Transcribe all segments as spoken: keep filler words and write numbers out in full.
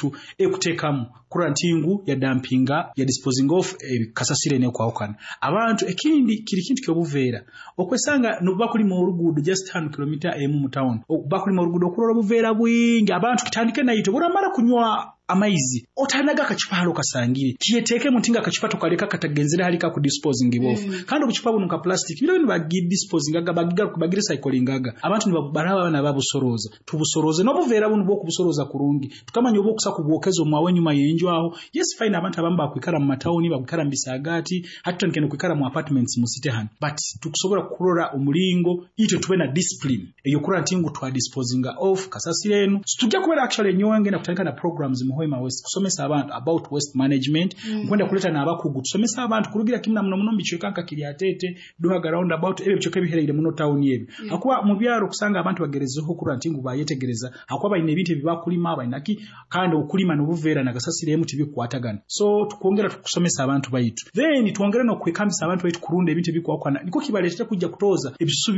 yaitu ekutekamu kurora nti ngu ya dumpinga, ya disposing off kasasiro enekwahukana. Abantu ekindi kiri kintu kyobuveera, okwesanga bakulima oruguudo just hano kilomita emu mu town, bakulima oruguudo okurora obuveera bwingi. Abantu kitandike naitwe, buramara kunywa amaizi otanaga akacupa halo kasangire, kiyeteekemu nti nga akacupa tokaleka katagenzere hali ka disposing off. mm. Kandi obucupa buno nka plastic biro bino bagidisposingaga, bagigaruka bagirecyclingaga. Abantu nibaraba abana babusoroza, tubusoroze n'obuveera buno bw'okubusoroza kurungi, tukamanya oba okusa kubwokeza omwawe enyuma y'enju aho. Yes, fine, abantu abamu bakwikara mu matawuni, bakwikara mu bisagati, hati tutandike kwikara mu apartments mu city hano, but tukusobola kurora omulingo itwe tube na discipline eyokurora nti ngu twa disposinga off kasasiro enu. Tujja kubeera actually nyowe ngenda kutandika na programs mu Hoima West kusomesa abantu about waste management. mm. Nkwenda kuleta n'abakugu tusomesa abantu kurugira kimu na muno muno mbicweka nka Kiryatete, Duhaga roundabout, ebyo bicweka ebihereire muno town ebyo. mm. Hakuba mu byaro kusanga abantu bagerezeho kurora nti ngu bayetegereza, hakuba balina ebintu ebibakulima balinaki, kandi okulima n'obuveera nagasasiro emu tibikwatagana. So tukwongera tukusomesa abantu baitu, then twongere n'okwekambisa abantu baitu kurunda ebintu ebikwakwana, niko kibaleetera kujja kutoza ebisusu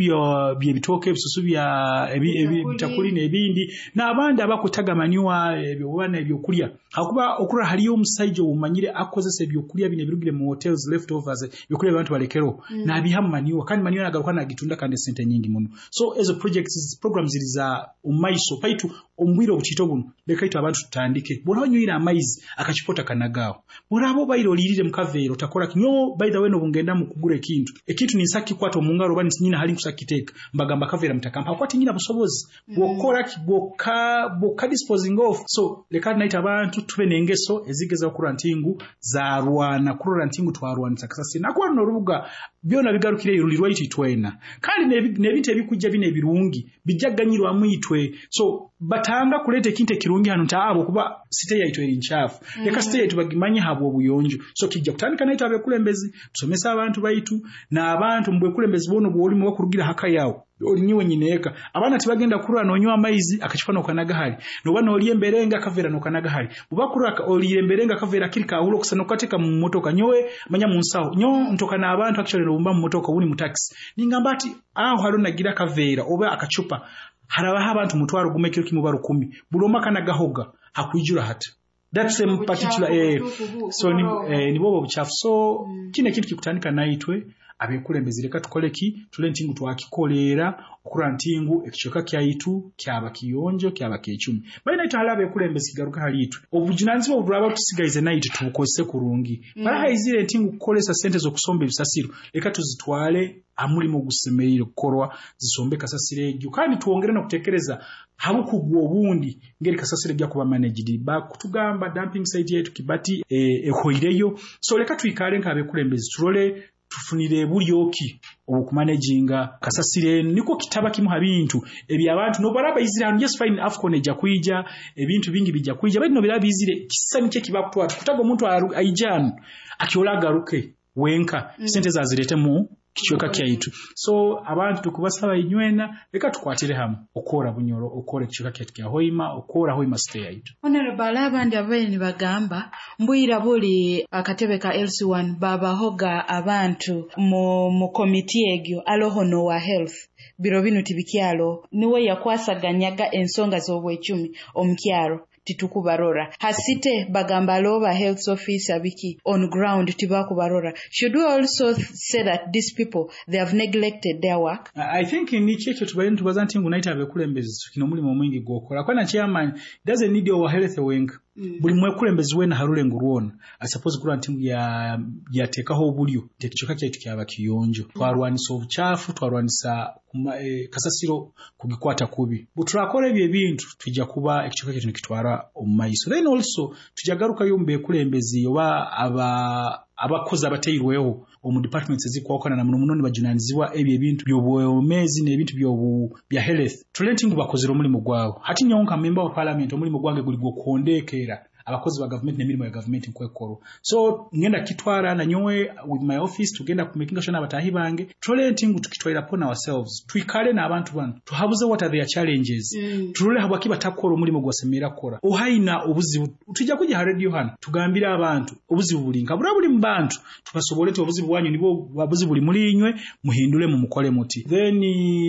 by'ebitooke, ebisusu bya ebitakuli n'ebindi, n'abandi abakutaga manure ebyo oba ebyokulya. Hakuba okurora haliyo omusaija omumanyire akozesa ebyokulya bino ebirugire mu hotels, leftovers, ebyokulya abantu balekero, mm. n'abiha mu manure, kandi manure nagaruka nagitunda kandi esente nyingi muno. So ezo projects, programs ziri za omumaiso paitu omubwire obukito buno. Leka itwe abantu tutandike, bw'oba onywire amaizi akachipota kanagaawo, bw'oraba obaire oliirire mu kaveera otakora nyo. By the way, n'obungenda mu kugura ekintu ekintu ninsa kikwata omu ngaro oba nyina hali nkusa kiteeka, mbagamba kaveera mutakampa, hakuba tinyina busobozi bw'okukora bw'oka bw'oka disposing off. So leka naita abantu tube n'engeso ezigeza okurora nti ngu zarwana kurora nti ngu twarwanisa kasasiro, nakuba runo orubuga byona bigarukireyo ruli rwaitu itwena, kandi n'ebintu ebikujja bino ebirungi bijja kuganyirwamu itwe. So batanga kuleeta ekintu ekirungi hano nti abo kuba city yaitu eri nkyafu. mm. Leka city yaitu bagimanye habwa obuyonjo. So kijja kutandika naitwe abekulembezi tusomesa abantu baitu, n'abantu mu bwekulembezi bwono bwolimu bakurugira haka yawe olinyiwe nyineeka. Abaana tibagenda kurora nonywa amaizi akacupa nokanaga hali, noba nolya emberenga akaveera nokanaga hali, bubakurora oliire emberenga akaveera kiri kahula okusa nokateeka mu motoka. Nyowe manya mu nsaho nyo ntoka n'abantu actually nobumba mu motoka obuni mu taxi, ningamba ati aho haliho nagira akaveera oba akacupa, harabaho abantu mutwaro gumu ekiro kimu ba rukumi, buli omu akanagahoga hakwijura hata that same particular eh, so ni, eh, nibo obuchafu. So mm. kino ekintu kikutandika naitwe abekulembezi. Leka tukole ki tule nti ngu twakikoleera okurora nti ngu ekicweka kyaitu kyaba kiyonjo, kyaba kyecumi. Bali naitwe hali abekulembezi, kigaruka hali itwe, obujunanizibwa obulaba tusigaize naitwe tubukozese kurungi. mm. Barahaizire nti ngu kukolesa sente z'okusomba ebisasiro, leka tuzitwale amulimu ogusemereire kukorwa, zisombe kasasiro egyo, kandi twongere n'okutekereza habukugu obundi ngeri kasasiro ejja kuba managed. Bakutugamba dumping site yetu Kibati ehoireyo. E, so leka twikale nk'abekulembezi turole tufunire buryoki obukumanaginga kasasiro eno, niko kitaba kimu ha bintu ebyabantu nobaraba izire hano. Yes, fine, AFCON ejja kwija, ebintu bingi bijja kwija, bali no biraba izire kisa nikyo kibakutwara kutaga omuntu aija hano akyola agaruke wenka, mm. sente zazirete mu kicweka kyaitu. So abantu tukubasaba inywena, leka tukwatire hamwe okora Bunyoro, okora ekicweka kyaitu kya Hoima, okora Hoima City yaitu. Honorable, abandi abaire nibagamba mbwira buli akatebe ka L C one babahoga abantu mu, mu komiti egyo aloho nowa health, biro binu tibikyalo, niwe yakwasaganyaga ensonga z'obwecumi omukyaro, titukubarora hasite, bagamba aloba health officer biki on ground tibakubarora. Should we also say that these people, they have neglected their work? I think nikyo ekyo tubaire nitubaza nti ngu naite abekulembezi kino omulimu omwingi gwokora kwana chairman doesn't need our health wenka. mm. Buli mwekulembezi wena harulengo rwona suppose kurora nti ya yateekaho obulyo nti ekicweka kyaitu kyaba kiyonjo. Twarwanisa obuchafu, twarwanisa kuma, e, kasasiro kugikwata kubi. Bwe turakora ebyo ebintu tujja kuba ekicweka kyaitu nikitwara omu maiso. Then also tujja garukayo omu bekulembezi oba aba abakozi abateirweho omu departments ezikwawukana, na muno muno nibajunanizibwa ebyo ebintu by'obwomezi n'ebintu by'obu bya health, tule nti ngu bakozere omulimu gwabo. Hati nyowe nka member wa parliament omulimu gwange guli gw'okuhondekeera abakozi ba gavumenti n'emirimu ya gavumenti nkwekorwa. So ngenda kitwara na nyowe with my office, tugenda kumakinga sure n'abatahi bange tulole nti ngu tukitwaira upon ourselves, twikale n'abantu bano, tuhabuze what are their challenges, mm. tulole habwaki batakora omulimu gwasemerera kukora. Ohaina obuzibu, tujja kujja ha radio hano tugambire abantu obuzibu buli nka bura buli mu bantu, tubasobole nti obuzibu bwanyu nibwo buzibu buli muri inywe, muhindule mu mukole muti. Then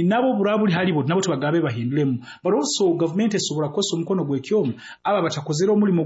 nabo bura buli halibo nabo tubagabe bahindulemu, but also government esobola kukozesa omukono gw'ekyoma aba batakozere omulimu.